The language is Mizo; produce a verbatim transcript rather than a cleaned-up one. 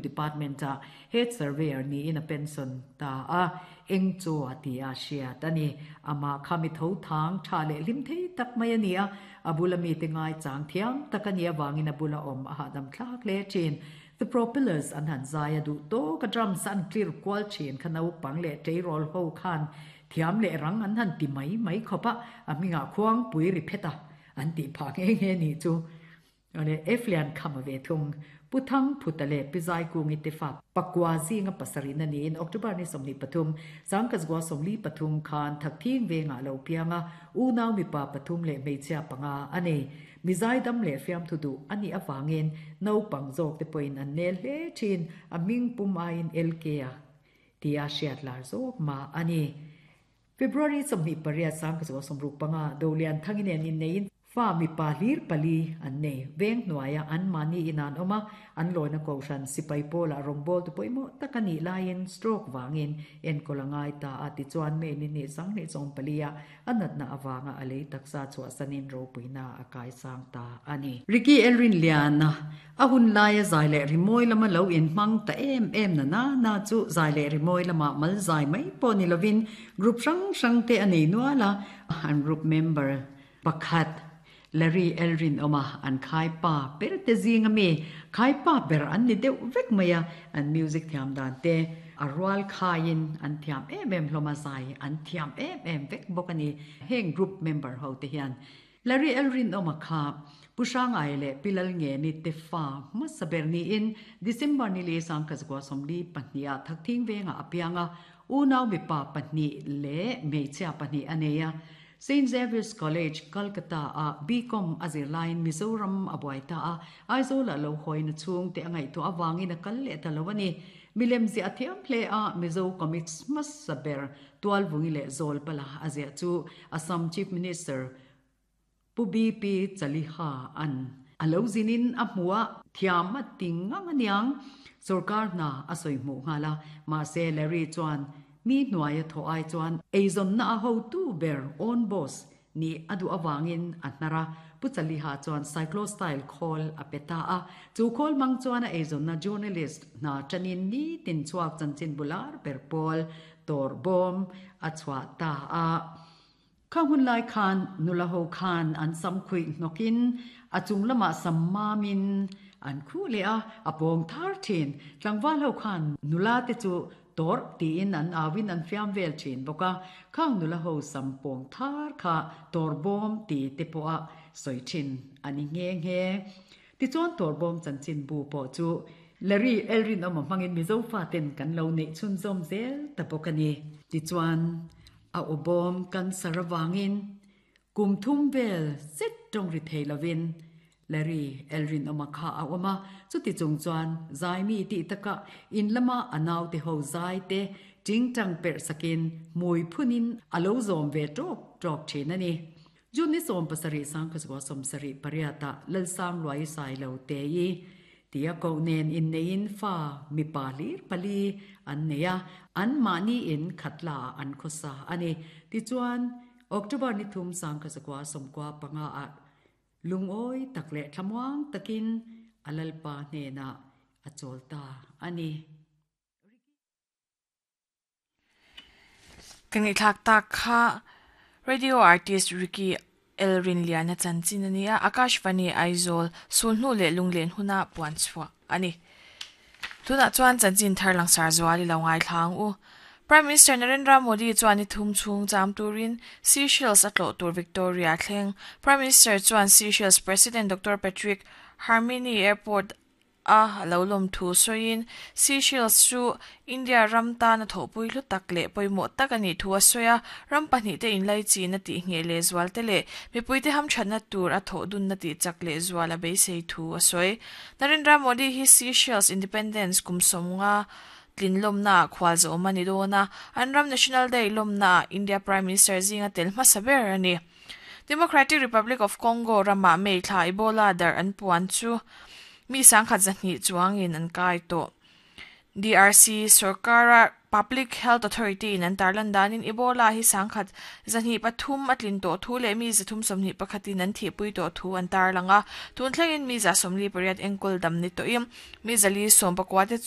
Department a Head Surveyor niin a pension ta a, eng chaw a ti a hriat a ni. Amah kha mi tho thang tha leh hlim thei tak mai a ni a, a bula mite ngai chang thiam tak a nih avangin a bula awm a hahdam thlak hle thin. The Propellers an han zai a duh tawk a, drums an clear kual thin kha naupang leh tleirawl ho khan thiam leh rang an han ti mai mai khawp a, a hmingah khuangpui ri phet a an tih phah nghe nghe nih chu. Awle Eflian kham a ve thung. Pu Thang Phuta leh Pi Zaikungi te fa pakua zinga pasarih na niin October ni sawmhnih pathum, Sangkazgua sawmli pathum khan Thakthing vengah lo piang a, unau mipa pathum leh hmeichhia panga a nei. Mi zaidam leh fiamthu duh a nih avangin naupang zawk te pawhin an nel hle thin, a hming pum aiin L K a tia hriat lar zawk mah a ni. February sawmhnih pariat Sangkazgua sawmruk panga Dolian Thangi nen inneiin fa mipa hlir pali an nei. Veng hnuaia an mahni in an awm a, an lawina kohhran sipai pawlah rawngbâwl tu pawimawh tak a nih laiin stroke vangin enkawl a ngai ta a, tichuan May ni hnih sanghnih sawm palia a natna avanga a lei taksa chhuahsanin ropuina a kaisang ta a ni. Ricky Elrinliana a hun laia zai leh rimawi lama lo inhmang ta em em na na na chu zai leh rimawi lama mal zai mai pawh ni lovin group hrang hrang te a nei nual a, an group member pakhat Larry Elrin awm a, an khai pa ber te zing a mi, khai pa ber an ni deuh vek mai a, an music thiam dan te a rual khaiin an thiam em em hlawm a, zai an thiam em em vek bawk a ni. Heng group member ho te hian Larry Elrin awm a kha Pu Hrangai leh Pi Lalngeni te fa hmasa ber niin December ni li Sangkazgua sawmli pahnih ah Thakthing vengah a piang a, unau mipa pahnih leh hmeichhia pahnih a nei a. Saint Xavier's College, Kolkata a B Com a zir laiin Mizoram a buai ta a, Aizawl ah lo hawina chhung te a ngaihtuah avangin a kal leh ta lo a ni. Milem ziah a thiam hle a, Mizo Comics hmasa ber Tualvungi leh Zawlpala a ziah chu Assam Chief Minister Pu B P Chaliha an a lo zinin a hmu a, thiam a ti ngang aniang. Sorkar hna a sawi hmuh nghal a, mahse Larry chuan mi hnuaia thawh ai chuan eizawnna a hotu ber own boss nih a duh avangin a hnar a, Pu Chaliha chuan cyclostyle khawl a pe ta a, chu khawl hmang chuan a eizawnna journalist hna tanin nitin chhuak chanchin bular ber pawl tawr bawm a chhuah ta a. Kha hun lai khan nula ho khan an sam khuih hnawkin a chung lamah sam mamin an khuh leh a, a pawng thar thin. Tlangval ho khan nula te chu tawrh tiin an auin an fiam vel thin bawk a, khang nula ho sam pawng thar kha tawr bawm ti te pawha sawi thin a ni nghe nghe. Tichuan tawr bawm chanchin bu pawh chu Larry Elrin awm a hmangin Mizo faten kan lo neih chhunzawm zel ta bawk a ni. Tichuan a aw bawm cancer avangin kum thum vel zet tawng ri thei lovin Larry Elrin awm a kha a awm a, chuti chung chuan zai mi tih takah in lama a naute ho zai te tingtang perh sakin hmui phunin a lo zawm ve tawk tawk thin a ni. June ni sawm pasarih sangkazua sawmsarih pariatah Lalsang Luai Sai lo te i tia koh nen inneiin fa mipa hlir pali an nei a, an mahni in khatla ah an khawsa a ni. Tichuan October ni thum sangkazua sawmkua panga ah lungawi tak leh thlamuang takin a lalpa hnenah a chawl ta a ni. Kan ngaihthlak tak kha radio artist Ricky Elrin Liana chanchin a ni a, Akashvani Aizawl sulhnu leh lunglen huna puan chhuah a ni. Tunah chuan chanchin thar langsar zual i lo ngaithlang u. Prime Minister Narendra Modi chuan ni thum chhung cham turin Seychelles a tlawh tur Victoria thleng. Prime Minister chuan Seychelles President Doctor Patrick Herminie Airport a lo lawm thu sawiin Seychelles chu India ram tan a thawhpui hlu tak leh pawimawh tak a nih thu a sawi a, ram pahnih te inlai chin a tih ngheh leh zual te leh mipui te hamthatna tur a thawh dunna tih chak leh zual a beisei thu a sawi. Narendra Modi hi Seychelles Independence kum sawmnga tlin lawmna ah khual zawm a ni dawn a, an ram National Day lawmna ah India Prime Minister zinga tel hmasa ber a ni. Democratic Republic of Congo ramah May thla Ebola darh an puan chu mi sangkhat zahnih chuangin an kai tawh. D R C sarkara Public Health Authority in an tarlan danin Ebola hi sangkhat zahnih pathum a tlin tawh thu leh mi zathum sawmhnih pakhatin an thihpui tawh thu an tarlang a tun thlengin mi za sawmli pariat enkawl dam ni tawhin mi zali sawm pakua te chu